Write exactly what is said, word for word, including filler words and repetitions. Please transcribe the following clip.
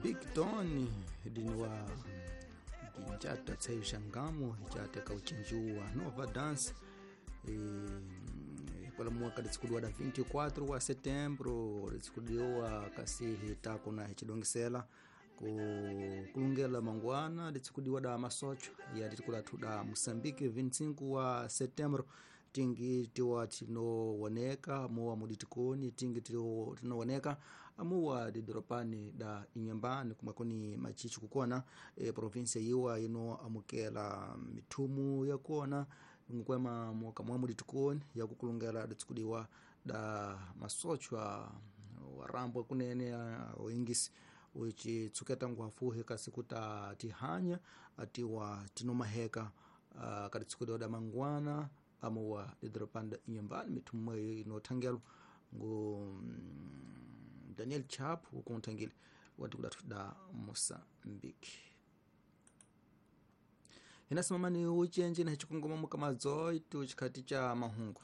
Big Don diniwa ginjata tsayo xangamo hichata kauchinjuwa Nova Dance e, pela mwaka litsikudiwa da vinte e quatro wa setembro litsikudiwa kasi hitako na hichidongisela ku kulungela mangwana litsikudiwa da masocho ya litikulatu da Moçambique vinte e cinco wa setembro tingi tiwa tinowoneka muwa muditikoni tingi tinowoneka amuwa didoropani da Inhambane kumwekoni machichi kukona e, provinsia yiwa ino amukela mithumu yakona nkwema mwaka mwa muditikoni yakukulungela ditsikudiwa da masochwa warambwe kunene oingisi uchi tsuketa ngwafuhe kasi kuta tihanya atiwa tinomaheka uh, katitsikudiwa da mangwana amuwa didoropani da Inhambane mithumu inothangelo ngu Daniel Chap ukuntangile watikulatu da Moçambique. Hinasimamani uchenje na hichikongoma mukamazoitu chikhati cha mahungu.